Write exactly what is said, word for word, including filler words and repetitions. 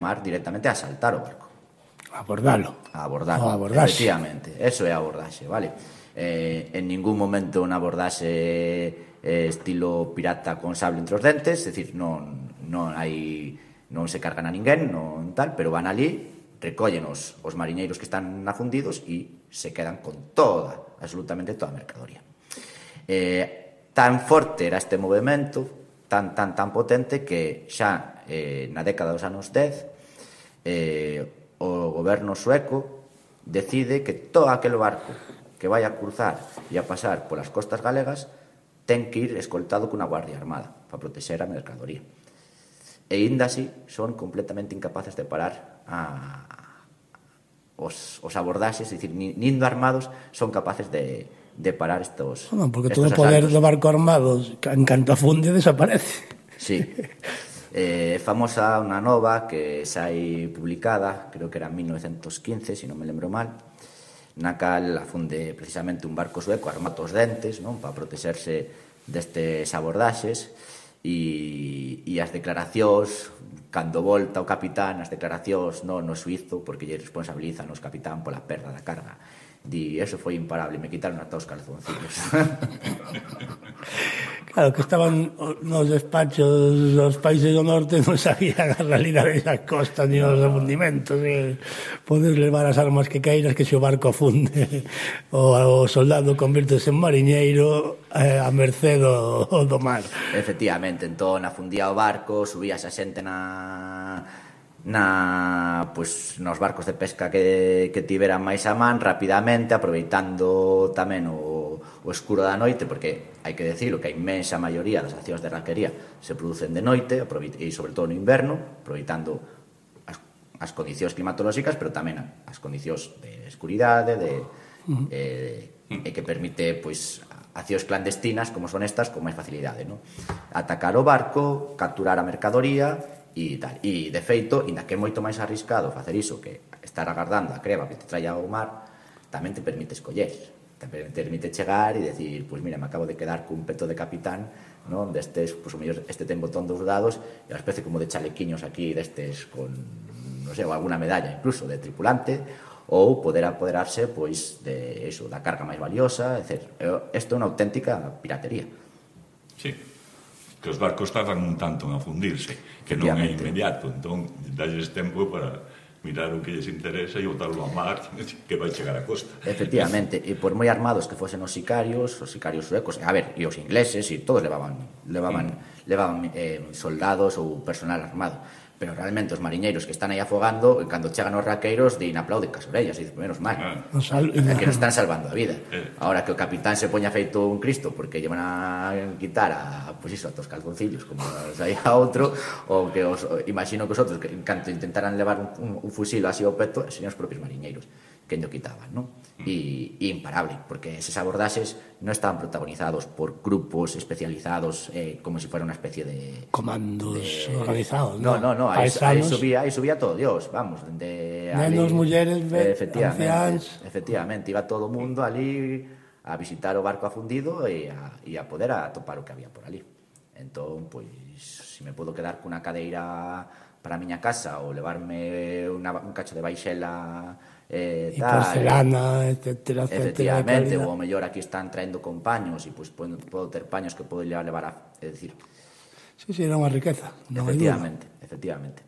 mar directamente a asaltar o barco. Abordalo. A abordalo, o abordaxe. efectivamente, eso é a abordaxe, vale? Eh, en ningún momento unha abordaxe eh, estilo pirata con sable entre os dentes, é dicir, non, non hai non se cargan a ninguén, non tal, pero van ali, recollen os, os mariñeiros que están afundidos e se quedan con toda, absolutamente toda a mercadoría. Eh, tan forte era este movimento, tan, tan, tan potente, que xa eh, na década dos anos dez eh, o goberno sueco decide que todo aquel barco que vai a cruzar e a pasar polas costas galegas ten que ir escoltado cunha guardia armada para protexer a mercadoría. E ainda así son completamente incapaces de parar a, os, os abordaxes, é dicir, nindo armados son capaces de, de parar estos Non, porque estos todo o poder asaltos. do barco armado, en canto afunde, desaparece. Sí. É eh, famosa unha nova que sai publicada, creo que era en mil novecientos quince, se non me lembro mal, na cal afunde precisamente un barco sueco armado os dentes, non, para protexerse destes abordaxes, e, e as declaracións, cando volta o capitán, as declaracións non no suizo, porque lle responsabilizan os capitán pola perda da carga. Di, eso foi imparable, me quitaron ata os calzoncillos. Claro, que estaban nos despachos dos países do norte, non sabían a realidade das costas ni os afundimentos. Eh. Podes levar as armas que queiras, que se o barco afunde o, o soldado convirtese en mariñeiro eh, a merced do, do mar. Efectivamente, entón afundía o barco, subíase a xente na... na pues, nos barcos de pesca que, que tiveran máis a man rapidamente, aproveitando tamén o, o escuro da noite, porque hai que decirlo que a inmensa maioría das accións de raquería se producen de noite e sobre todo no inverno, aproveitando as, as condicións climatolóxicas, pero tamén as condicións de escuridade de, uh-huh. eh, e que permite pois, accións clandestinas como son estas con máis facilidade, no? Atacar o barco, capturar a mercadoría e tal. E, de feito, inda que é moito máis arriscado facer iso que estar agardando a creva que te traia ao mar, tamén te permite escoller, te permite chegar e decir, pois pues mira, me acabo de quedar cun peto de capitán, non, destes, pois pues, o mellor este ten botón dos dados e unha especie como de chalequiños aquí destes con, non sei, alguna medalla incluso de tripulante, ou poder apoderarse pois de eso, da carga máis valiosa, etcétera. Isto é unha auténtica piratería. Sí. Que os barcos tardan un tanto en afundirse, que non é inmediato, entón dalles tempo para mirar o que lles interesa e botarlo a mar que vai chegar a costa. Efectivamente, e por moi armados que fosen os sicarios, os sicarios suecos, a ver, e os ingleses, e todos levaban levaban, mm. levaban eh, soldados ou personal armado, pero realmente os mariñeiros que están aí afogando, cando chegan os raqueiros, din aplauden cas orellas, e dicen, menos mal, ah. é que nos están salvando a vida. Eh. Ahora que o capitán se poña feito un Cristo porque lle van a quitar a, pues iso, a tos calzoncillos, como aí a outro, ou que os, imagino que os outros, que en canto intentaran levar un, un, un fusil así ao peto, serían os propios mariñeiros que ño quitaban, non? E, e imparable, porque eses abordaxes non estaban protagonizados por grupos especializados eh, como se si fuera unha especie de... Comandos de, organizados, no? No, no, no, aí, aí, subía, aí subía todo Dios, vamos, de... Nenos, mulleres, eh, efectivamente, anciáns... Efectivamente, iba todo o mundo ali a visitar o barco afundido e a, e a poder atopar o que había por ali. Entón, pois, se me podo quedar cunha cadeira para a miña casa ou levarme una, un cacho de baixela... Eh, e porcelana, etcétera, etcétera. Efectivamente, ou mellor aquí están traendo con paños e pois podo, podo ter paños que podo levar a... É dicir... Sí, sí, era unha riqueza. Efectivamente, efectivamente.